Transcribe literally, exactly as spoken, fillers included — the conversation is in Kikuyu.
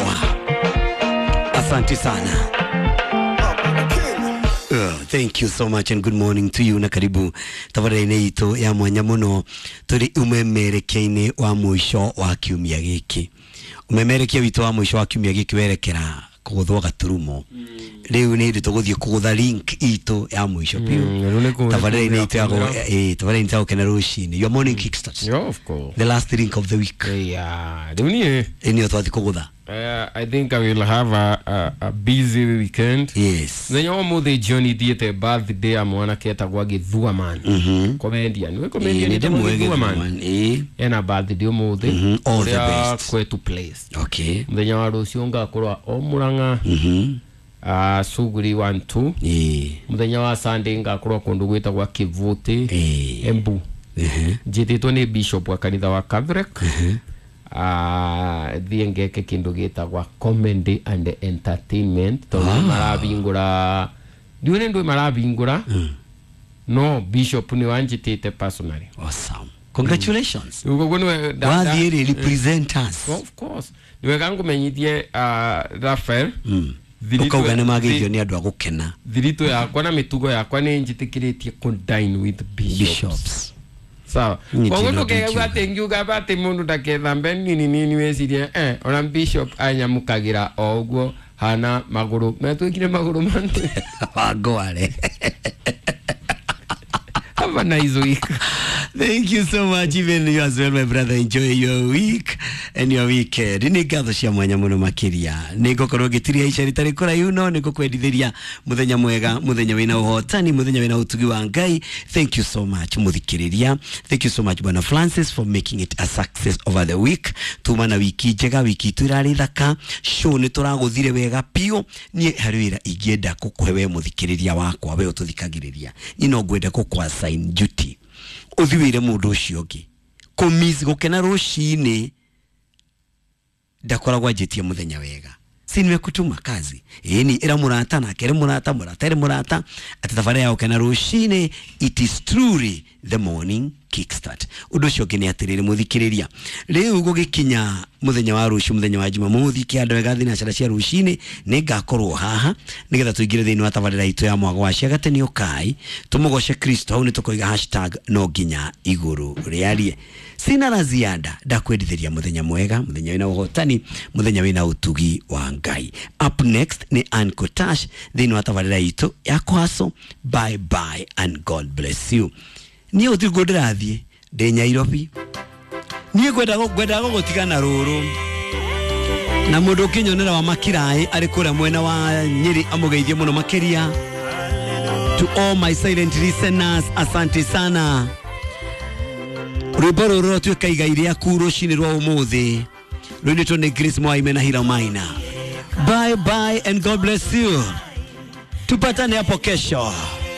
wakwa. Asante sana. Uh, thank you so much and good morning to you na karibu tabarĩra-inĩ itũ ya mwanya mũno. Tũrĩ ũmemerekia-inĩ wa mũico wa kiumia gĩkĩ. Ũmemerekia witũ wa mũico wa kiumia gĩkĩ werekera kũgũthwo gaturumo. Rĩu nĩ hĩndĩ tũgũthiĩ kũgũtha link itũ ya mũico biũ. Rĩu nĩ kũ- Tabarĩra-inĩ itũ ya kũgũtha. gũ- eh, tabarĩra-inĩ itũ ya gũkena rũcinĩ, your morning kickstart. Yeah, of course. The last link of the week. Yeah, rĩu niĩ Ĩ nĩyo twathiĩ kũgũtha. uh, I think I will have a, a, a busy weekend. Yes. Mũthenya wa ũmũthĩ jioni thiĩte birthday ya mwanake etagwo Gĩthua Man. Mhm. Comedian. Nĩwe Ĩ, comedian nĩ etagwo ndĩmũĩ Gĩthua Man. Gĩthua Man, ĩ. Ena birthday ũmũthĩ. Mhm, all the Kũrĩa best. Kwetu Place. Okay. Mũthenya wa rũciũ ngakorwo o Murang'a, Mhm. uh, Suguri one two. Ĩ. Mũthenya wa Sunday ngakorwo kũndũ gwĩtagwo Kĩvũtĩ, Ĩ. Embu. Ehe. Njĩtĩtwo nĩ bishop wa kanitha wa Catholic, ah, thiĩ ngeke kĩndũ gĩtagwa comedy and entertainment, tondũ ah. marabingũra, ndiũĩ nĩ ndũĩ marabingũra, no bishop nĩ wanjĩtĩte personally. Awesome. Congratulations. Rĩu koguo nĩwe nda- Wathiĩ nda- rĩ, represent us. Of course, nĩ wega ngũmenyithie, uh, Raphael, Mm. thiritũ- Ũkauga nĩ mageithio thi- nĩ andũ a gũkena. Thiritũ yakwa na mĩtugo yakwa nĩ njĩtĩkĩrĩtie kũ dine with bishops. Bishops. Sawa. Niĩ Koguo ndina ndũkegua ndingiuga. atĩ ngiuga ba atĩ mũndũ ndakethambe nini nini, wecirie eh, ona bishop anyamũkagĩra o ũguo hana magũrũ metwĩkire magũrũ mantĩ. Wangware. Have a nice week. Thank you so much, even you as well, my brother. Enjoy your week and your weekend. Nĩ ngatho cia mwanya mũno makĩria. Nĩ ngũkorwo ngĩtiria ica rĩtarĩ kũraihu, no nĩ ngũkwendithĩria mũthenya mwega, mũthenya wĩna ũhotani, mũthenya wĩna ũtugi wa Ngai. Thank you so much, mũthikĩrĩria. Thank you so much, Bwana Francis, for making it a success over the week. Tuma na wiki njega, wiki itũ ĩrarĩ thaka. Show nĩ tũragũthire wega biũ. Niĩ harĩ wĩra ingĩenda gũkũhe we mũthikĩrĩria wakwa, we ũtũthikagĩrĩria. Niĩ no ngwenda gũkũ assign duty, ũthi wĩre mũndũ ũcio ũngĩ kũmiss gũkena rũcinĩ ndakoragwo anjĩtie mũthenya wega. Si nimekutuma kazi? Ĩni ĩra mũrata nake, ĩrĩ mũrata, mũrata ĩrĩ mũrata atĩ thabarĩ ya gũkena rũcinĩ, it is truly the morning kickstart. Ũndũ ũcio ũngĩ nĩ atĩrĩrĩ, mũthikĩrĩria, rĩu gũgĩkinya mũthenya wa rũciũ, mũthenya wa Jumamothi, kĩanda wega thinacara cia rũcinĩ nĩ ngakorwo haha nĩgetha tũingĩre thĩinĩ wa tabarĩra itũ ya mwago wa ciagatĩ ũkai tũmũgoce Kristo. Hau nĩ tũkoiga hashtag no nginya igũrũ rĩarie. Sina la ziada, ndakwendithĩria mũthenya mwega, mũthenya wĩna ũhotani, mũthenya wĩna ũtugi wa Ngai. Up next nĩ Ann Kotash thĩinĩ wa tabarĩra itũ ya kwaso. Bye bye and God bless you. Niĩ ũtirĩ ndĩrathiĩ, ndĩ Nyairobi. Niĩ ngwendaga ngwendaga gũgũtigana rũrũ na mũndũ ũkĩnyonera wa makiraĩ arĩ kũrĩa mwena wa Nyĩrĩ, amũgeithie mũno makĩria. To all my silent listeners, asante sana. Rwĩmbo rũrũ rũtuĩka igai rĩaku rũcinĩ rwa ũmũthĩ, rũinĩtwo nĩ Grace Mwaime na Hira Maina. Bye bye and God bless you. Tupatane hapo kesho.